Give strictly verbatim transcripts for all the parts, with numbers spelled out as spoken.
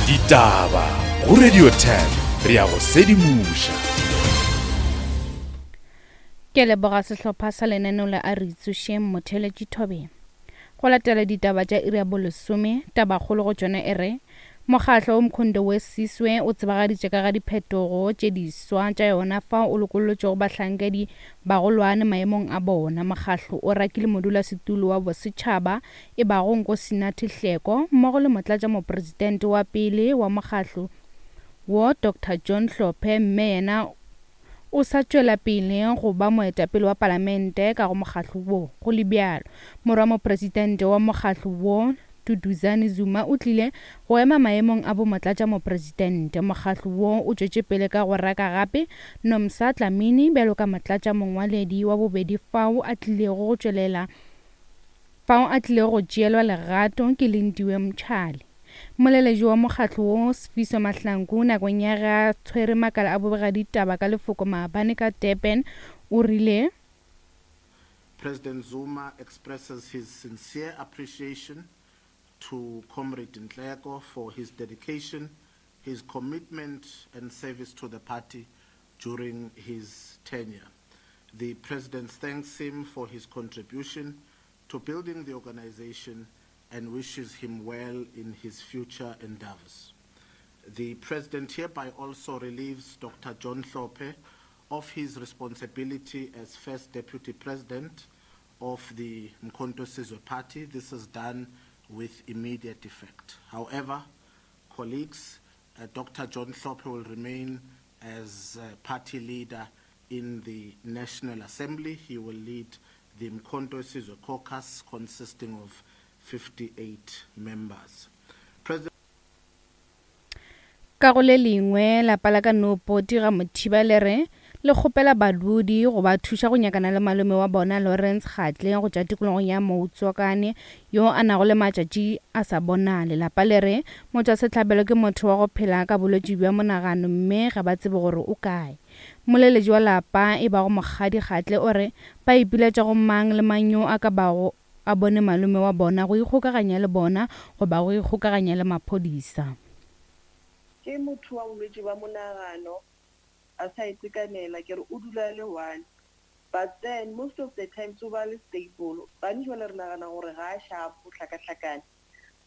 Ditaba go Radio ten re ya go sedimoša. Ke leboga sehlopha sa lenaneo la A Re Itsošeng Motheeletši Thobeng. Go latela ditaba tša iri ya bolesome, tabakgolo go tšona e re mokgahlo o Mkhonto we Siswe o tsebagaditše ka ga diphetogo tše diswa tša yona fao o lokollotšego bahlankedi bagolwane maemong a bona. Mokgahlo o rakile modulasetulo wa bosetšhaba e bago Nkosinathi Hleko mmogo le motlatšamopresidente wa pele wa mokgahlo wo Doctor John Hlophe, mme yena o sa tšwela pele go ba moetapele wa palamente ka go mokgahlo wo. Go le bjalo, morwa mopresidente wa mokgahlo wo Duduzane Zuma o tlile go ema maemong a bomotlatšamopresidente. Mokgahlo wo o tšwetše pele ka go raka gape Nomsa Dlamini bjalo ka motlatšamongwaledi wa bobedi fao a tlilego go tšwelela fao a tlilego go tšeelwa legato ke Lindiwe Mtshali. Moleletši wa mokgahlo wo Sifiso Mahlangu nakong ya ge a tshwere makala a bobegaditaba ka lefoko maabane ka Durban o rile President Zuma expresses his sincere appreciation to Comrade Nhleko for his dedication, his commitment and service to the party during his tenure. The President thanks him for his contribution to building the organization and wishes him well in his future endeavors. The President hereby also relieves Doctor John Hlophe of his responsibility as First Deputy President of the Mkhonto Sizwe Party. This is done with immediate effect. However, colleagues, uh, Doctor John Hlophe will remain as, uh, party leader in the National Assembly. He will lead the Mkhonto Sizwe Caucus consisting of fifty-eight members. President Ka go le lengwe, lapa la ka Noopoti ga Mothiba le re le kgopela badudi go ba thuša go nyakana le malome wa bona Lawrence Kgatle go tšwa tikologong ya Moutswakane yo a nago le matšatši a sa bonale. Lapa le re motšwasehlabelo ke motho wa go phela ka bolwetši bja monagano mme ga ba tsebe gore o kae. Moleletši wa lapa e bago Mokgadi Kgatle o re ba ipiletša go mang le mang yo a ka bago a bone malome wa bona go ikgokaganya le bona goba go ikgokaganya le maphodisa. Ke motho wa bolwetši bja monagano a sa itekanela, ke re o dula le one, but then most of the times o ba le stable. Gantši jwale re nagana gore ga a sharp, o hlakahlakane.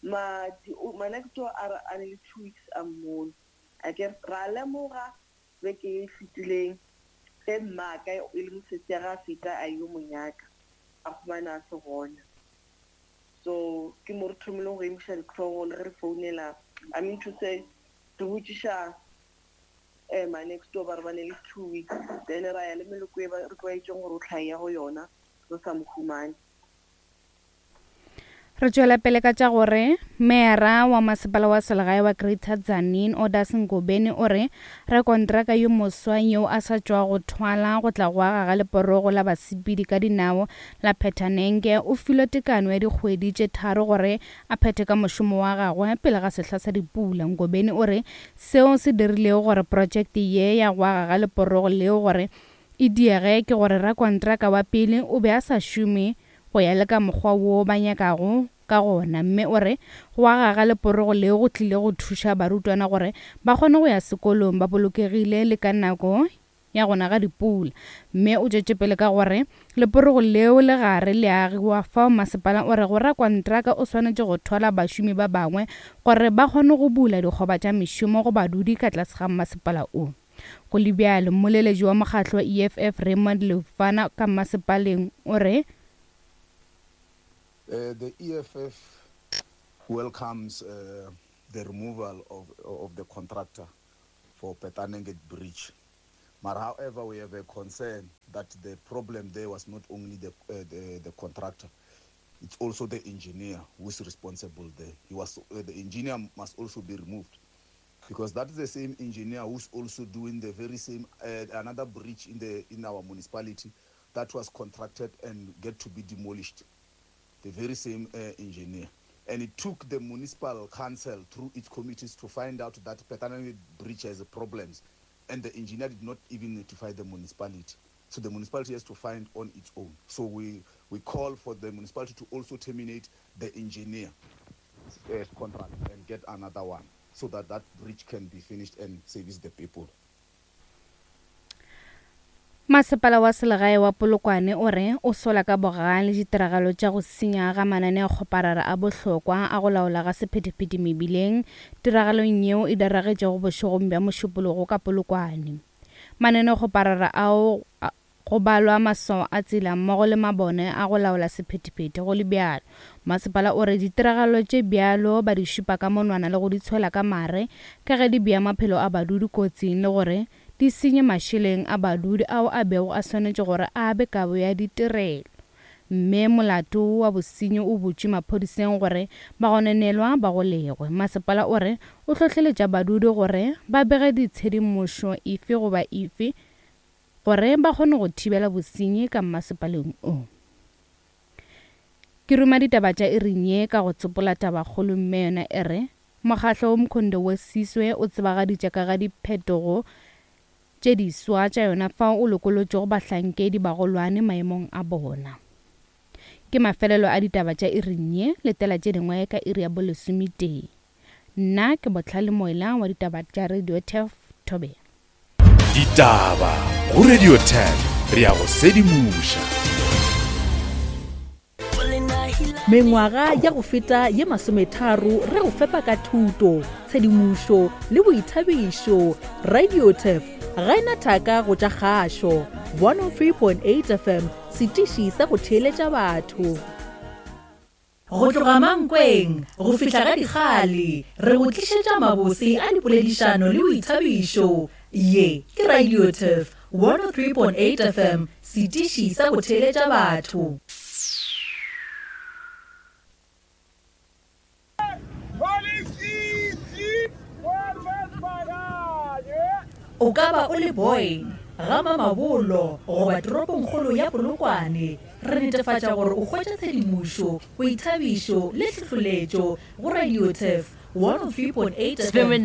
Ma, di, o, ma next door a re a ne le two weeks a mmone. A ke re, ra lemoga beke e fetileng ge mmaka e le mosesi ya ga a feta a yo mo nyaka, a fumana a se gona. So ke mo re thomileng go emiša ditlhogo le ge re founela, I mean to say re botšiša, eh, ma next door ba re ba ne le two weeks, then ra ya le meloko e ba re tlwaetšeng gore o tlhae go yona, re sa mo humane. Re tšwela pele ka tša gore meyara wa masepala wa selegae wa Greater Tzaneen Odas Ngobeni o re rakontraka yo moswa yo a sa tšwa go thwala go tla go aga ga leporogo la basepedi ka dinao la Phethanenge o filwe tekano ya dikgwedi tše tharo gore a phethe ka mošomo wa gagwe pele ga sehla sa dipula. Ngobeni o re seo se dirilego gore projekte ye ya go aga ga leporogo leo gore e diege ke gore rakontraka wa pele o be a sa šome go ya le ka mokgwa wo ba nyakago ka gona, mme o re go aga ga leporogo leo go tlile go thuša barutwana gore ba kgone go ya sekolong ba bolokegile le ka nako ya gona ga dipula. Mme o tšwetše pele ka gore leporogo leo le gare le agiwa fao masepala o re go rakontraka o swanetše go thwala bašomi ba bangwe gore ba kgone go bula dikgoba tša mešomo go badudi ka tlase ga masepala o. Go le bjalo, mmoleletši wa mokgatlo wa E F F Raymond Lefana ka masepaleng o re Uh, the E F F welcomes, uh, the removal of, of the contractor for Phetanenge Bridge. But however, we have a concern that the problem there was not only the, uh, the, the contractor, it's also the engineer who is responsible there. He was, uh, the engineer must also be removed, because that is the same engineer who's also doing the very same, uh, another bridge in the, in our municipality that was contracted and get to be demolished. The very same, uh, engineer. And it took the municipal council through its committees to find out that Phetanenge Bridge has problems, and the engineer did not even notify the municipality. So the municipality has to find on its own. So we, we call for the municipality to also terminate the engineer, uh, contract and get another one. so that that bridge can be finished and service the people. Masepala wa selegae wa Polokwane o re o sola ka bogale ditiragalo tša go senya ga mananeokgoparara a bohlokwa a go laola ga sephethephethe mebileng tiragalong yeo e diragetšego bošegong bja Mošupologo ka Polokwane. Mananeokgoparara ao go balwa maswao a tsela mmogo le mabone a go laola sephethephethe go le bjalo. Masepala o re ditiragalo tše bjalo ba di šupa ka monwana le go di tshwela ka mare ka ge di bea maphelo a badudi kotsing le gore di senye mašeleng a badudi ao a bego a swanetše gore a be kabo ya ditirelo. Mme molato wa bosenyi o butšwe maphodiseng gore bagononelwa ba golegwe. Masepala o re o hlohleletša badudi gore ba bege ditshedimošo efe goba efe gore ba kgone go thibela bosenyi ka mmasepaleng o. Ke ruma ditaba tša iring ye ka go tsopola tabakgolo mme yona e re mokgahlo wo Mkhondo we Siswe o tsebagaditše ka ga diphetogo tše diswa tša yona fao o lokolotšego bahlankedi bagolwane maemong a bona. Ke mafelelo a ditaba tša iring ye, letela tše dingwe ka iri ya bolesometee. Nna ke Botlhale Moela wa ditaba tša Radio Turf Thobela. Ditaba go Radio Turf, re ya go sedimoša. Mengwaga ya go feta ye masometharo re go fepa ka thuto, tshedimošo le boithabišo. Radio Turf ga ena thaka go tša kgašo. one oh three point eight F M, setiši sa go theeletša batho. Go tloga Mankweng go fihla ga Dikgale, re go tlišetša mabose a dipoledišano le boithabišo. Ye ke Radio Turf one oh three point eight F M, setiši sa go theeletša batho. O ka ba o le Boyne, ga Mamabolo goba toropongkgolo ya Polokwane, re netefatša gore o hwetša tshedimošo, boithabišo le tlhohleletšo go Radio Turf one oh three point eight F M.